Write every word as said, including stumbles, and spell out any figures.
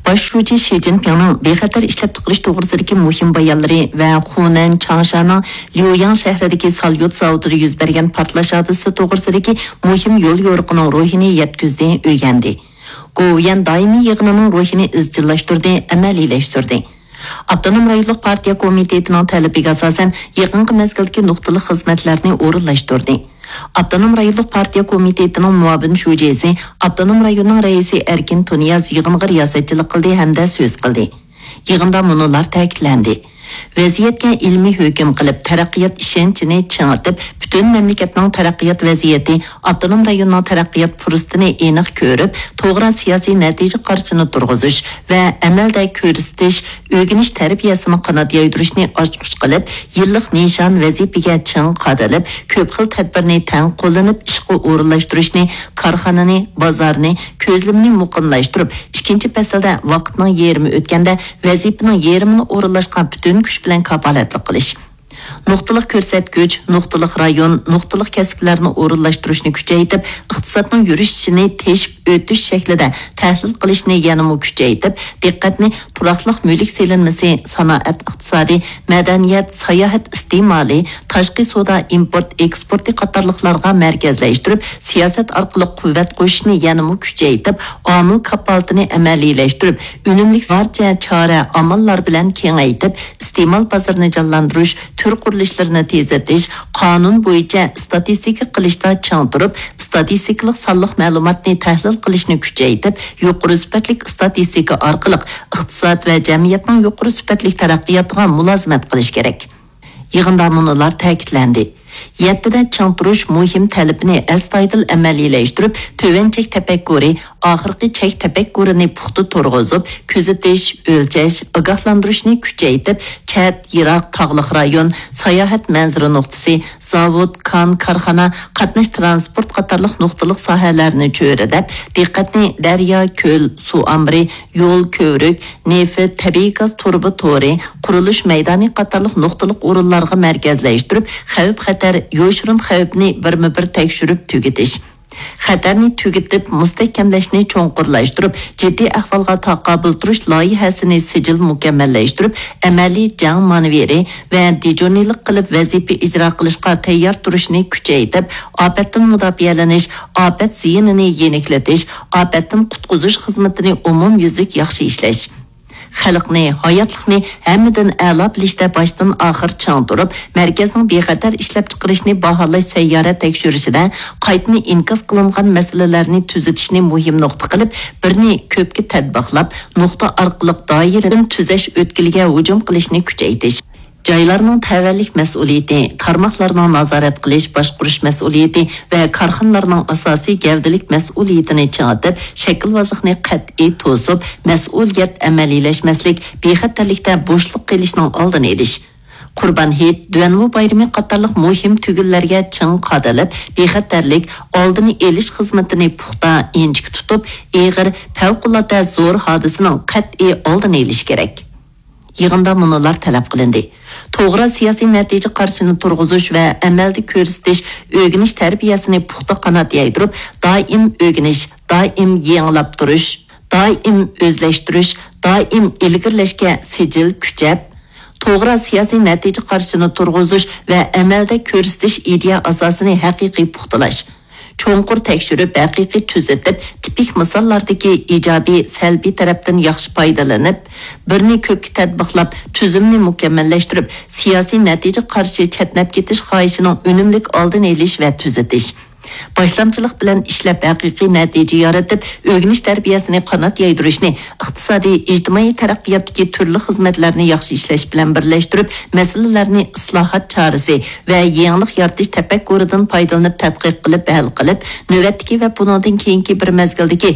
باش شۇجى شى جىنپىڭنىڭ بىخەتەر ئىشلەپچىقىرىش توغرىسىدىكى مۇھىم بايانلىرى ۋە خۇنەن چاڭشانىڭ ليۇياڭ شەھىرىدىكى ساليۇت زاۋۇتىدا يۈز بەرگەن پارتلاش ھادىسىسى توغرىسىدىكى مۇھىم يول يورۇقىنىڭ روھىنى يەتكۈزدى، ئۆگەندى. گوۋۇيۈەن دائىمىي يىغىنىنىڭ روھىنى ئىزچىللاشتۇردى، ئەمەلىيلەشتۈردى. ئاپتونوم رايونلۇق پارتىيە كومىتېتىنىڭ تەلىپىگە ئاساسەن، يېقىنقى مەزگىلدىكى نۇقتىلىق خىزمەتلەرنى ئورۇنلاشتۇردى. ئاپتونوم رايونلۇق پارتىيە كومىتېتىنىڭ مۇئاۋىن شۇجىسى، ئاپتونوم رايوننىڭ رەئىسى ئەركىن تۇنىياز يىغىنغا رىياسەتچىلىك قىلدى ھەمدە سۆز قىلدى. يىغىندا مۇنۇلار تەكىتلەندى: ۋەزىيەتكە ئىلمىي ھۆكۈم قىلىپ، تەرەققىيات ئىشەنچىنى چىڭىتىپ، پۈتۈن مەملىكەتنىڭ تەرەققىيات ۋەزىيىتى، ئاپتونوم رايوننىڭ تەرەققىيات پۇرسىتىنى ئېنىق كۆرۈپ، توغرا سىياسىي نەتىجە قارىشىنى تۇرغۇزۇش ۋە ئەمەلدە كۆرسىتىش، ئۆگىنىش تەربىيەسىنىڭ قانات يايدۇرۇشىنى ئاچقۇچ قىلىپ، يىللىق نىشان ۋەزىپىگە چىڭ قادىلىپ، كۆپ خىل تەدبىرنى تەڭ قوللىنىپ ئىشقا ئورۇنلاشتۇرۇشنى، كارخانىنى، بازارنى، كۆزلىمىنى مۇقىملاشتۇرۇپ، ئىككىنچى پەسىلدە ۋاقىتنىڭ يېرىمى ئۆتكەندە ۋەزىپىنىڭ يېرىمىنى ئورۇنلاشقا پۈتۈن كۈچ بىلەن كاپالەتلىك قىلىش. نۇقتىلىق كۆرسەتكۈچ، نۇقتىلىق رايون، نۇقتىلىق كەسىپلەرنى ئورۇنلاشتۇرۇشنى كۈچەيتىپ، ئىقتىسادنىڭ يۈرۈشۈشىنى تېشىپ ئۆتۈش شەكلىدە تەھلىل قىلىشنى يەنىمۇ كۈچەيتىپ، دىققەتنى تۇراقلىق مۈلۈك سېلىنمىسى، سانائەت ئىقتىسادى، مەدەنىيەت، ساياھەت ئىستېمالى، تاشقى سودا ئىمپورت ئېكسپورتى قاتارلىقلارغا مەركەزلەشتۈرۈپ، سىياسەت ئارقىلىق قۇۋۋەت قوشۇشنى يەنىمۇ كۈچەيتىپ، ئامىل كاپالىتىنى ئەمەلىيلەشتۈرۈپ، ئۈنۈملۈك بارچە چارە ئاماللار بىلەن كېڭەيتىپ، ئىستېمال بازىرىنى جانلاندۇرۇش، تۈر قۇرۇلۇشلىرىنى تېزلىتىش، قانۇن بويىچە ئىستاتىستىكا قىلىشتا چىڭ تۇرۇپ، ئىستاتىستىكىلىق سانلىق مەلۇماتنى تەھلىل قىلىشنى كۈچەيتىپ، يۇقىرى سۈپەتلىك ئىستاتىستىكا ئارقىلىق ئىقتىساد ۋە جەمئىيەتنىڭ يۇقىرى سۈپەتلىك تەرەققىياتىغا مۇلازىمەت قىلىش كېرەك. يىغىندا مۇنۇلار تەكىتلەندى: يەتتىدە چىڭ تۇرۇش مۇھىم تەلىپىنى ئەستايىدىل ئەمەلىيلەشتۈرۈپ، تۆۋەن چەك تەپەككۇرى، ئاخىرقى چەك تەپەككۇرىنى پۇختا تۇرغۇزۇپ، كۆزىتىش، ئۆلچەش، ئاگاھلاندۇرۇشنى كۈچەيتىپ، چەت، يىراق، تاغلىق رايون، ساياھەت مەنزىرە نۇقتىسى، زاۋۇت، كان، كارخانا، قاتناش ترانسپورت قاتارلىق نۇقتىلىق ساھەلەرنى چۆرىدەپ، دىققەتنى دەريا، كۆل، سۇ ئامبىرى، يول، كۆۋرۈك، نېفىت، تەبىئىي گاز تۇرۇبا تورى، قۇرۇلۇش مەيدانى قاتارلىق نۇقتىلىق ئورۇنلارغا مەركەزلەشتۈرۈپ، خەۋپ-خەتەر، يوشۇرۇن خەۋپنى بىرمۇبىر تەكشۈرۈپ تۈگىتىش. خەتەرنى تۈگىتىپ، مۇستەھكەملەشنى چوڭقۇرلاشتۇرۇپ، جىددىي ئەھۋالغا تاقابىل تۇرۇش لايىھەسىنى سىجىل مۇكەممەللەشتۈرۈپ، ئەمەلىي جەڭ مانېۋىرى ۋە دىجورنىلىق قىلىپ ۋەزىپە ئىجرا قىلىشقا تەييار تۇرۇشنى كۈچەيتىپ، ئاپەتتىن مۇداپىئەلىنىش، ئاپەت زىيىنىنى يېنىكلىتىش، ئاپەتتىن قۇتقۇزۇش خىزمىتىنى ئومۇميۈزلۈك ياخشى ئىشلەش. خەلقنى، ھاياتلىقنى ھەممىدىن ئەلا بىلىشتە باشتىن ئاخىر چىڭ تۇرۇپ، مەركەزنىڭ بىخەتەر ئىشلەپچىقىرىشنى باھالاش سەييارە تەكشۈرۈشىدە قايتىنى ئىنكاس قىلىنغان مەسىلىلەرنى تۈزىتىشنى مۇھىم نۇقتا قىلىپ، بىرنى كۆپكە تەتبىقلاپ، نۇقتا ئارقىلىق دائىرىدىن تۈزەش ئۆتكىلىگە ھۇجۇم قىلىشنى كۈچەيتىش. جايلارنىڭ تەۋەلىك مەسئۇلىيىتى، تارماقلارنىڭ نازارەت قىلىش، باشقۇرۇش مەسئۇلىيىتى ۋە كارخانىلارنىڭ ئاساسىي گەۋدىلىك مەسئۇلىيىتىنى چىڭىتىپ، شەكىلۋازلىقنى قەتئىي توسۇپ، مەسئۇلىيەت ئەمەلىيلەشمەسلىك، بىخەتەرلىكتە بوشلۇق قېلىشنىڭ ئالدىنى ئېلىش. قۇربان ھېيت، دۈەنۋۇ بايرىمى قاتارلىق مۇھىم تۈگۈنلەرگە چىڭ قادىلىپ، بىخەتەرلىك ئالدىنى ئېلىش خىزمىتىنى پۇختا، ئىنچىكە تۇتۇپ، ئېغىر، پەۋقۇلئاددە زور ھادىسىنىڭ قەتئىي ئالدىنى ئېلىش كېرەك. يىغىندا مۇنۇلار تەلەپ قىلىندى: توغرا سىياسىي نەتىجە قارىشىنى تۇرغۇزۇش ۋە ئەمەلدە كۆرسىتىش، ئۆگىنىش تەربىيەسىنى پۇختا قانات يايدۇرۇپ، دائىم ئۆگىنىش، دائىم يېڭىلاپ تۇرۇش، دائىم ئۆزلەشتۈرۈش، دائىم ئىلگىرىلەشكە سىجىل كۈچەپ، توغرا سىياسىي نەتىجە قارىشىنى تۇرغۇزۇش ۋە ئەمەلدە كۆرسىتىش ئىدىيە ئاساسىنى ھەقىقىي پۇختىلاش. چوڭقۇر تەكشۈرۈپ، ھەقىقىي تۈزىتىپ، تىپىك مىساللاردىكى ئىجابىي، سەلبىي تەرەپتىن ياخشى پايدىلىنىپ، بىرنى كۆپكە تەتبىقلاپ، تۈزۈمنى مۇكەممەللەشتۈرۈپ، سىياسىي نەتىجە قارىشى چەتنەپ كېتىش خاھىشىنىڭ ئۈنۈملۈك ئالدىنى ئېلىش ۋە تۈزىتىش. باشلامچىلىق بىلەن ئىشلەپ، ھەقىقىي نەتىجە يارىتىپ، ئۆگىنىش تەربىيەسىنى قانات يايدۇرۇشنى ئىقتىسادىي، ئىجتىمائىي تەرەققىياتتىكى تۈرلۈك خىزمەتلەرنى ياخشى ئىشلەش بىلەن بىرلەشتۈرۈپ، مەسىلىلەرنى ئىسلاھات چارىسى ۋە يېڭىلىق يارىتىش تەپەككۇرىدىن پايدىلىنىپ تەتقىق قىلىپ ھەل قىلىپ، نۆۋەتتىكى ۋە بۇنىڭدىن كېيىنكى بىر مەزگىلدىكى